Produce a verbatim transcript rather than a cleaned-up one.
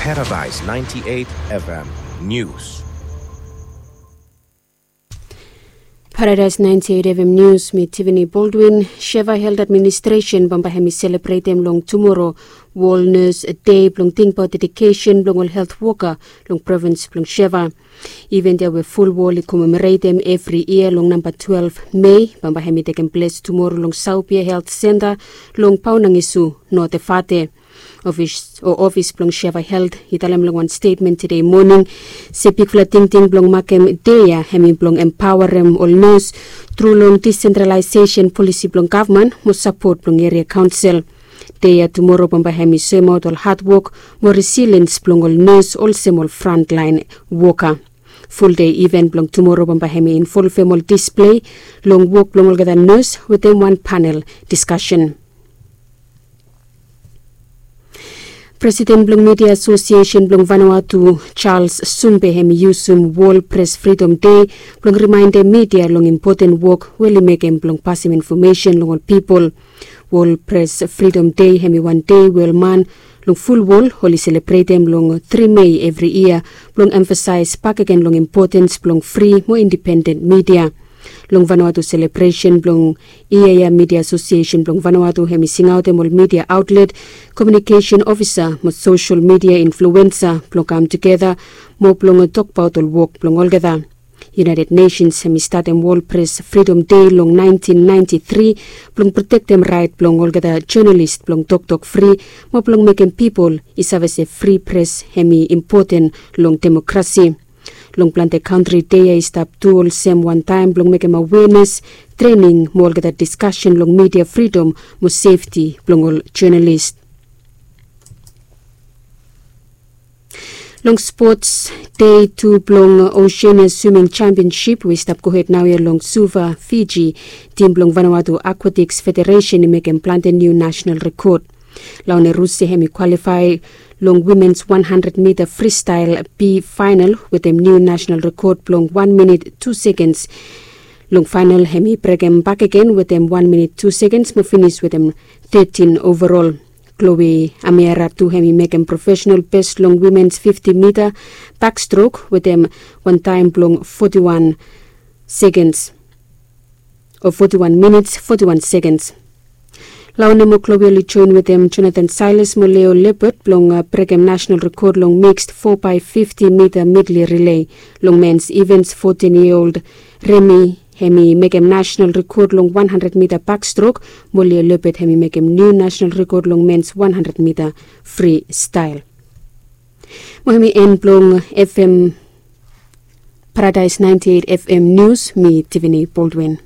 Paradise ninety-eight F M News. Paradise ninety-eight F M News, mi Tiffany Baldwin. Sheva Health Administration bambae hemi selebretem long tumoro World Nurse Day blong tingbaot dedikesen blong ol helt woka long provins blong Sheva. Iven ya we fulwol i komemoretem evri yia long namba twelve Mei, bambae hemi tekem ples tumoro long Saupia Helt Senta long Paunangisu, Notefate. Ofis o ofis blong Sheva Helt i talem long wan stetmen tede moning se bigfala tingting blong makem dei ya hemi blong empaoarem ol nurse tru long disentralaesesen polisi blong gavman mo sapot blong eria kaonsel. Dei ya tumoro bambae hemi soemaot ol hadwok mo resiliens blong ol nurse olsem ol frantlaen woka. Fuldei iven blong tumoro bambae hemi involvem ol displei long wok blong olgeta nurse wetem wan panel diskasen. Presiden blong Midia Asosiesen blong Vanuatu, Charles Sumbe, hemi yusum Wol Pres Fridom Dei blong rimaendem midia long impoten wok we oli mekem blong pasem infomesen long ol pipol. Wol Pres Fridom Dei hemi wan dei we ol man long fulwol oli selebretem long tri Mei evri yia blong emfasaes bakegen long impotens blong fri mo indipenden midia. Long Vanuatu selebresen blong yia ya, Midia Asosiesen blong Vanuatu hemi singaotem ol midia aotlet, komiunikesen ofisa mo sosel midia influensa blong kam tugeta mo blong tokbaot ol wok blong olgeta. United Nations hemi statem Wol Pres Fridom Dei long naentin naenti tri blong protektem raet blong olgeta jonalis blong toktok fri mo blong mekem pipol i save se fri pres hemi impoten long demokrasi. Long plante kantri dei ya i stap tu olsem wan taem blong mekem awenes, trening mo olgeta diskasen long midia fridom mo sefti blong ol jonalis. Long spots, dei tu blong Oceania Swimming Championship we i stap gohed naoia long Suva, Fiji. Tim blong Vanuatu Aquatics Federation i mekem plante niu nasonal rekod. Laune Rusi hemi kwalifae long wimens wan handred mita fristael B faenal wetem niu nasonal rekod blong wan minit tu sekens. Long faenal hemi brekem bakegen wetem wan minit tu sekens mo finis wetem tetin ovarol. Chloe Amiara tu hemi mekem profesenal bes long wimens fifti mita bakstrok wetem wan taem blong foti wan sekens o foti wan minits foti wan sekens. Laune mo Chloe oli joen wetem Jonathan Silas mo Leo Leopard blong brekem nasonal rekod long miksd fo bae fifti mita midli rilei. Long mens ivens, fotin yia old Remi hemi mekem nasonal rekod long wan handred mita bakstrok mo Leo Leopard hemi mekem niu nasonal rekod long mens wan handred mita fristael. Mo hemi en blong F M Paradise ninety-eight F M News, mi Tiffany Baldwin.